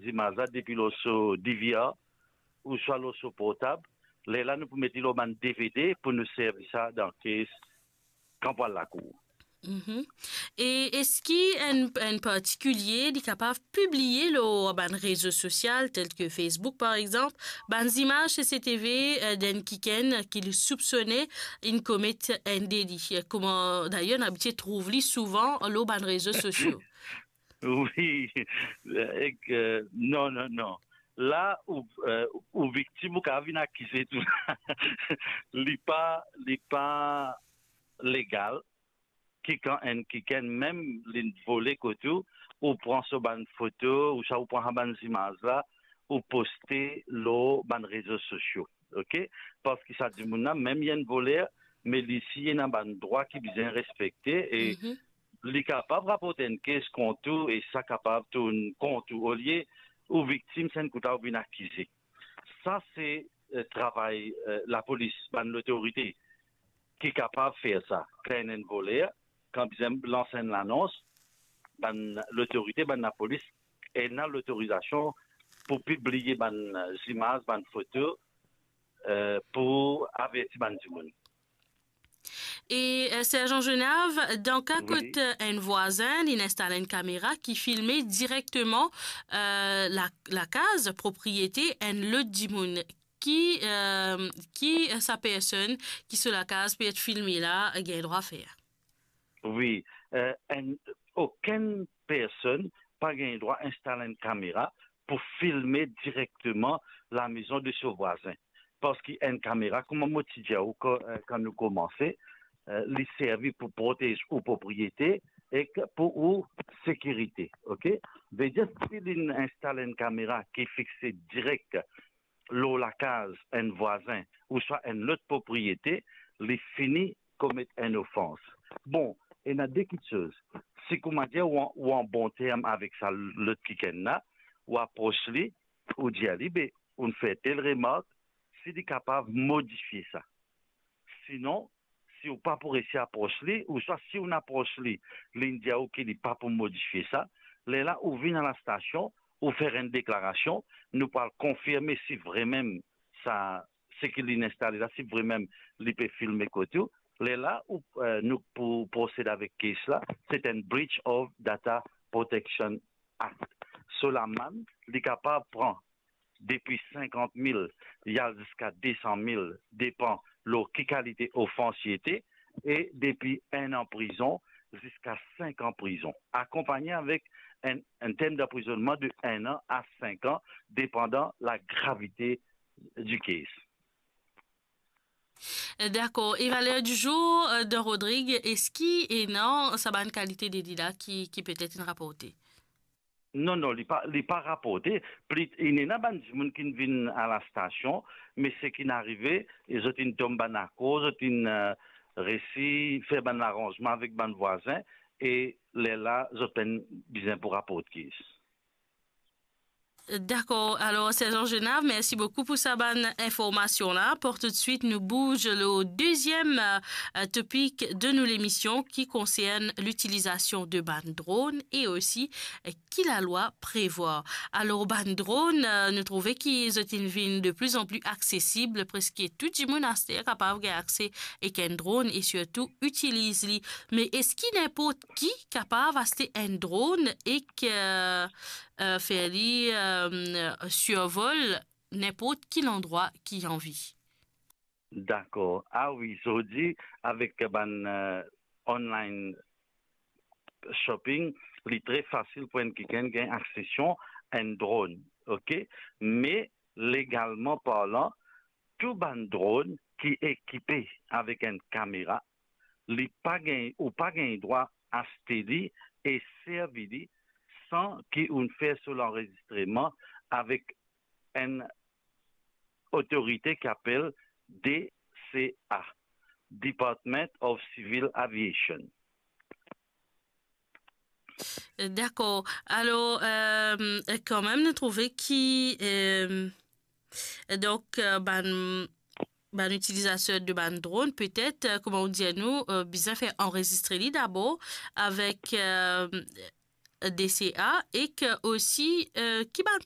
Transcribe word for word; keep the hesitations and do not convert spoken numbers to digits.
zimaz la depi lor so D V R ouswa lor so portab, lerla nou pou met li lor bann D V D pou nou servi sa dan case kan pou al lakour. Mhm. E eski enn, enn partikilie li kapav pibliye lor bann rezo sosial, tel ke Facebook, par exanp, bann zimaz C C T V, eh, d'enn kikenn ki li soupsone inn komet enn deli? Kouma, dayer, nou abitie trouv li souvan lor bann rezo sosio. Wi, ek, eh, non, non, non. La, ou, eh, ou viktim, ou kapav vinn akize tou. Li pa, li pa legal ki kan enn kikenn mem li vole kot ou, ou pran so bann foto, ouswa ou pran sa bann zimaz la, ou poste lor bann rezo sosio, ok? Parski sa dimoun la, mem li enn voler, me li si ena bann drwa ki bizin respekte, e Mhm. li kapav raport enn case kont ou, e sa kapav tourn kont ou, olie ou viktim, sa enn kout la ou vinn akize. Sa se, eh, travay, eh, lapolis, bann lotorite ki kapav fer sa. Kan enn voler, kan bizin lans enn lanons, bann lotorite, bann lapolis, ena lotorizasion pou pibliye bann, eh, zimaz, bann foto, eh, pou averti bann dimoun. E, eh, Sergent Genav, dan ka Wi. kot, eh, enn vwazin, li inn instal enn kamera ki filme direkteman, eh, la, lakaz, propriete enn lot dimoun, ki, eh, ki, eh, sa personn ki so lakaz pe et filme la, eh, gagn drwa fer? Wi, eh, enn, okenn personn pa gagn drwa instal enn kamera pou filme direkteman lamezon de so vwazin. Parski enn kamera, kouma mo ti dir ou kan, eh, kan nou koumanse, eh, li servi pou protez ou propriete ek pou ou sekirite, ok? Vedir, si li instal enn kamera ki fixe direk lor lakaz enn vwazin ouswa enn lot propriete, li fini komet enn ofans. Bon, ena de kiksoz. Si, kouma dir, ou an, ou an bon term avek sa lot kikenn la, ou apros li, ou dir li, be, ou fer tel remark, si li kapav modifie sa. Sinon, si ou pa pou resi apros li, ouswa si ou apros li, li dir ou ki li pa pou modifie sa, lerla ou vinn a lastasion, ou fer enn deklarasion, nou pou al konfirme si vremem sa, seki li instale la, si vremem li pe filme kot ou, lerla ou, eh, nou pou prosed avek case la, se enn Breach of Data Protection Act. So lamann, li kapav pran depi sinkant mil, li al ziska de san mil, depann lor ki kalite ofans li ete, e depi enn an prizon ziska sink an prizon, akonpagne avek enn, enn term d'anprizonnman de enn an a sink an, depandan lagravite di case. Dakor. E valer di zour, eh, dan Rodrig, eski ena sa bann kalite deli la ki, ki petet inn raporte? Non, non, li pa, li pa raporte. Pli, inn ena bann dimoun ki vinn a lastasion, me seki inn arive, e zot inn tom bann akor, zot inn, eh, resi fer bann laranzman avek bann vwazin, e lerla zot pa'nn bizin pou raport case. Dakor. Alor, Sergent Genav, mersi boukou pou sa bann informasion la. Pou toutswit, nou bouz lor deziem, eh, topik de nou lemision ki konsern litilizasion de bann dronn e osi, eh, ki lalwa prevwar. Alor, bann dronn, eh, nou trouve ki zot inn vinn de pli an pli aksesib, preske tou dimoun aster kapav gagn akse ek enn dronn e sirtou itiliz li. Me eski ninport ki kapav aste enn dronn ek, eh, eh, fer li, eh, sirvol ninport ki landrwa ki anvi? Dakor. Ah wi, zordi, avek bann, eh, online shopping, li tre fasil pou enn kikenn gagn aksesion enn dronn, ok? Me legalman parlan, tou bann dronn ki ekipe avek enn kamera, li pa gagn, ou pa gagn drwa aste li e servi li san ki ou'nn fer so lanrezistreman avek enn otorite ki apel D C A, Department of Civil Aviation. Dakor. Alor, eh, kanmem, nou trouve ki, eh, donk, eh, bann, bann itilizater de bann dronn, petet, eh, kouma ou dir nou, eh, bizin fer anrezistre li dabor avek, eh, D C A, ek osi, eh, ki bann